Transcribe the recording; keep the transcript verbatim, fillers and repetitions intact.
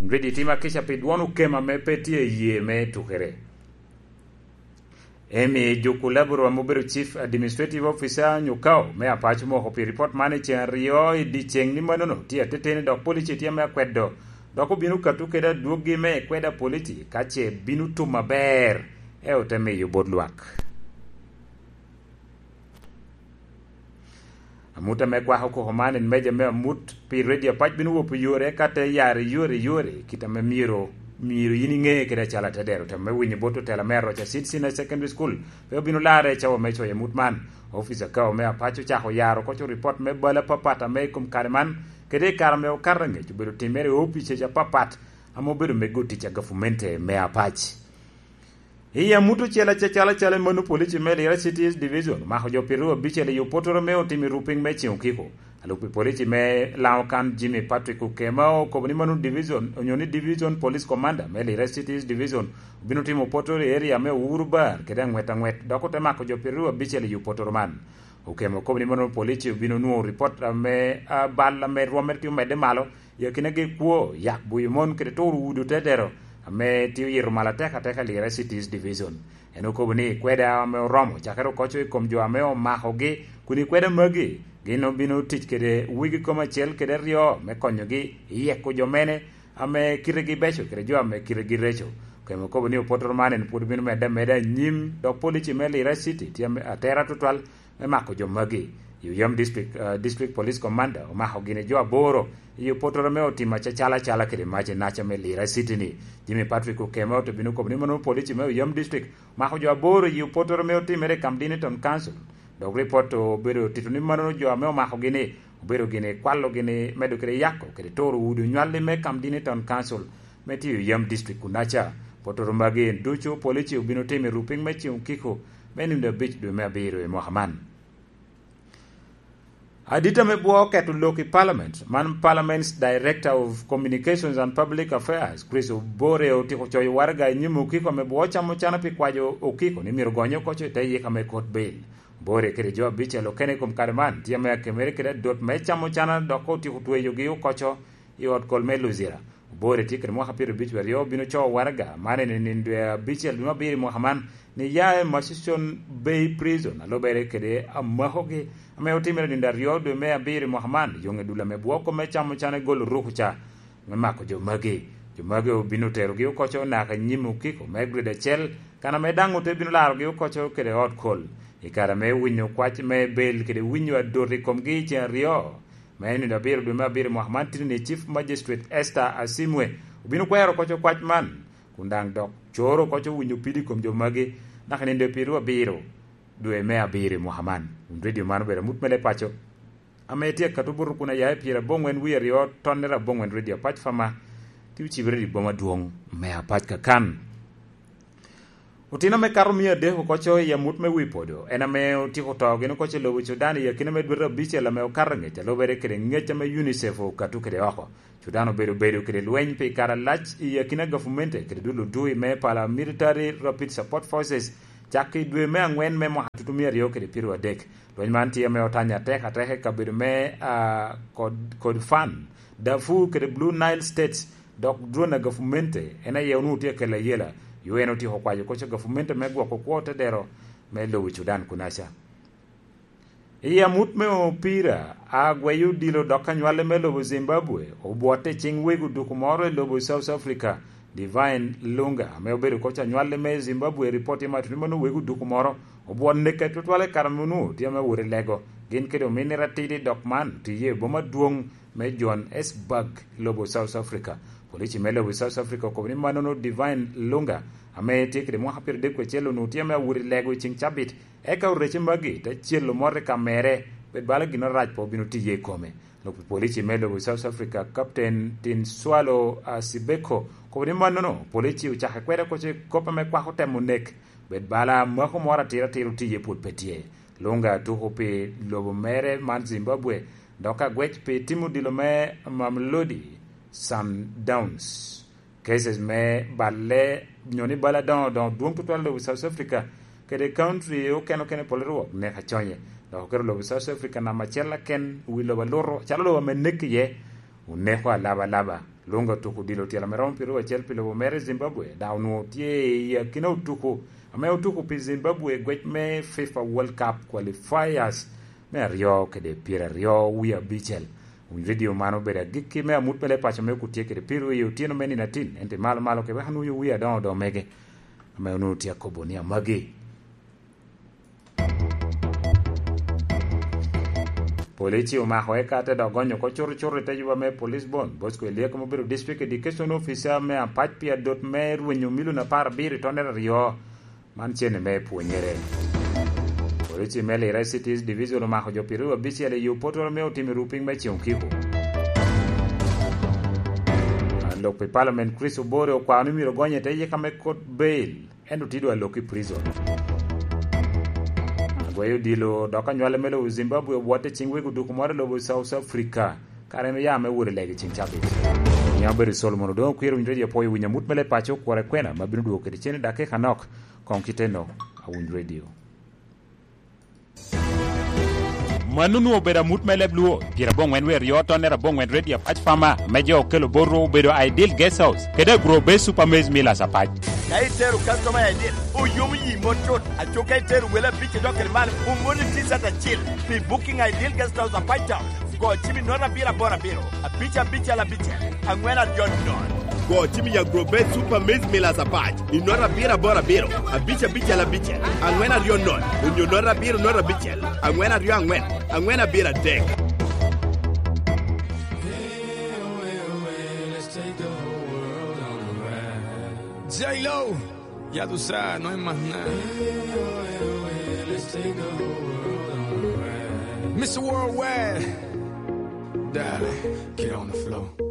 Redi timo akica pi dwon okema me pe tye i yee me tukere. Emi Juku Laburu ame obedo Chief Administrative Officer nyo kao me Apac omoko pi ripot man i ceng aryo i dyeceng ni manono tye ateteni dok polici tye me akwedo, dok obino kato kede adwoggi me kweda polici ka ce bino tum aber, e ote miyo bot lwak. Amut ame kwako koko man en meja me amut pi redio Apac bino wopo yore ka te yare yore yore kit ame myero myero yin iŋe kede acalo atedero. Temo me winyo bot otela me Aroca Seed Senior Secondary School pe obino larre i cawa me coyo amut man. Ofica kao me Apac ocako yaro koco ripot me bal apapat ame i kom kare man kede i kare ame okato angec obedo timere i opice apapat ame obedo mego tic a gafumente me Apac. I amut ocel acecel acalo mano polici me Lira City East Division omako jo pyeraryo abicel i opotoro me otimo i rupiny me Ceng Okiko. Alub pi polici me Lango kan Jimmy Patrick Okema okobo ni mano division onyo ni Division Police Commander me Lira City East Division obino timo opotoro i area me Uhuru Bar kede aŋwet aŋwet dok ote mako jo pyeraryo abicel i opotoro man. Okema okobo ni mano polici obino nwoŋo ripot ame ah, bal ame rwomme tye omedde malo i akinagi kwo, yak buyo mon kede turo udi otedero ame tye oyito malo atek ateka i Lira City East Division. En okobo ni kweda ame oromo cakere okoco i kom jo ame omakogi kun i kweda magi gin obino tic kede wegi kom acel kede aryo me konyogi i yeko jo mene ame kitegi beco kede jo ame kitegi reco. Okema okobo ni opotoro man en pwod obino medde ameda anyim dok polici me Lira City tye ame- atera tutwal me mako jo magi. I Oyam District, uh, District Police Commander omako gini jo aboro i opotoro me otimo acacala acala kede mac i naca me Lira City ni. Jimmy Patrick Okema ote bino kobo ni mano polici me Oyam District omako jo aboro i opotoro me otimere i Kamdini Town Council. Dok ripot obedo tito ni mano jo ame omako gini obedo gini kwalo gini medo kede yako kede toro udi onywalli me Kamdini Town Council me tiyo Oyam District kunaca. Potoro magi en ducu polici obino timo i rupiny me Ceng Okiko me nino abic dwe me abiro i mwaka man. Adita me bwo oketo lok i Parliament, man Parliament's Director of Communications and Public Affairs, Chris Obore otyeko coyo waraga i nyim okiko ame bwo ocamo cana pi kwayo okiko ni myero gonye okoco i te yika me kot bail. Obore kede jo abicel okene i kom kare man tye ame akemere kede adot me camo cana dok otyeko tweyogi okoco i ot kol me Luzira. Obore tye kede mwaka pyeraryo abic aryo obino coo waraga man en i nino dwe abicel dwe me abiro i mwaka man ni ya i Murchison Bay Prison alobere kede amakogi ame otimere nino aryo dwe me abiro i mwaka man yoŋe dul ame bwoko me camo can egolo ruku ca me mako jo magi. Jo magi obino terogi okoco naka nyim okiko me grade acel kan ame daŋ ote bino larogi okoco kede ot kol i kare me winyo kwac me bel kede winyo adot i komgi i ceng aryo me nino abiro dwe me abiro mwaka man titini Chief Magistrate Esther Asimwe obino kwero koco kwac man kun daŋ dok coro koco winyo pidi i kom jo magi naka nino dwe pyeraryo abiro dwe me abiro i mwaka man. Wun redio man obedo amut me le paco ame tye akato buto kun aya i pyera aboŋwen wie aryo tonnere aboŋwen redio apac fama ti ocibere i boma dwoŋ me apac kakan. Otino me kato mia adek okoco i amut me wi podo en ame otyeko to gin okoco i lobo Cudan i akina me dwete abicel ame okato angec alubere kede ngec ame UNICEF okato kede oko. Cudan obedo bedo kede lweny pi kare alac i akina gafumente kede dul odui me Paramilitary Rapid Support Forces cak i dwe me angwen me mwaka tutu mia aryo kede pyeraryo adek. Lweny man tye ame otanya atek atek i kabedo me ah, kod, kod fan Darfur kede Blue Nile States dok dwon a gafumente en aye onwoŋo tye akelo ayela yo en otyeko kwayo koc a gafumente me gwoko kwo te dero me lobo Cudan kunaca. I amut me opira, agweyo odilo dok anywale me lobo Zimbabwe obwotte i cing wego duku moro i lobo South Africa, Divine Lunga ame obedo koc anywale me Zimbabwe ripot i matino mano wego duku moro obwot neke tutwale kare munu tye ame wot i lego gin kede ominne ratidi dok man tiye i boma dwong me Johannesburg, lobo South Africa. Polici me lobo South Africa okobo ni manono Divine Lunga ame tye kede mwaka pyeraryo adek kwecel onwoŋo tye ame awot i lego i ceng cabit eka orece magi te celo mot i ka mere bed bala gin arac pe obino tiye i kome. Lok pi polici me lobo South Africa Captain Tinswalo Asibeko okobo ni manono polici ocake kwede koco i kop ame kwako temo nek bed bala mako moro atira atira otiye pwod pe tye. Lunga tuko pi lobo mere man Zimbabwe dok agwec pi timo odilo me Mamelodi Sundowns. Cases me balle nyo ni bal adoŋo doŋo dwong tutwal i lobo South Africa kede country okene okene pol rwok nek aconye dok oketo lobo South Africa namba acel aken wi lobo aluto calo lobo ame nek iye oneko alaba alaba. Lunga otuko odilo tyelo ame romo pyeraryo acel pi lobo mere i Zimbabwe, dok onwoŋo tye i akina otuko ame otuko pi Zimbabwe i gwec me FIFA World Cup Qualifiers me aryo kede pyeraryo wie abicel. Winy redio man obedo agikki me amut me leb paco me okut tye kede piro i otyeno me nino atin, ento i malo malo kede wek anwoŋo wie adoŋo odoŋo mege ame onwoŋo tye akobo ni amagi. Polici omako eka te dok gonyo oko curucuru i te juba me Police Bon Bosco Eliek ame obedo District Education Officer me Apac pi adot me rwenyo milion apar abiro i tonere aryo. Man cene me pwonyere. Polici me Lira Cities Division omako jo pyeraryo abicel i yo potoro me otimo i rupiny me Ceŋ Okiko. Lok pi Parliament Chris Obore okwao ni myero gonye te yika me kot bail. Ento tye dwa lok i prison. Agweyo odilo dok anywale me lobo Zimbabwe obwotte ciŋ wego duku moro i lobo South Africa, kare en oya me wot i lega i ciŋ cabit. Nya obedo Solomon Odongo Okwir, winyo redio apwoyo winyo amut me leb paco, kwora kwena ma bino dwogo kede cen i dakika nok. Koŋ kiteno, awiny redio. Mano onwoŋo obedo amut me leb Luo, pyeraboŋwen wer yo tonne raboŋwen Redio Apac Farmer, ame jo okelo bot rwo obedo Ideal Guest House, kede Agro Base Super Maize Millers Apac. Ka itero customer Ideal, oyomo yi mot cut, aco ka itero wele abic idok kede malo, omoni T-shirt acil pi booking Ideal Guest House Apac Town. Go cim i nota abiro aboro abiro, abic abicel abicel, aŋwen aryo nono. Go cim i Agro Base Super Maize Millers Apac i nota abiro aboro abiro, abic abicel abicel, aŋwen aryo nono, onyo nota abiro nota abicel, aŋwen aryo aŋwen, aŋwen abiro adek. J-Lo, ya tú sabes, no hay más nada. Mister Worldwide, dale, get on the floor.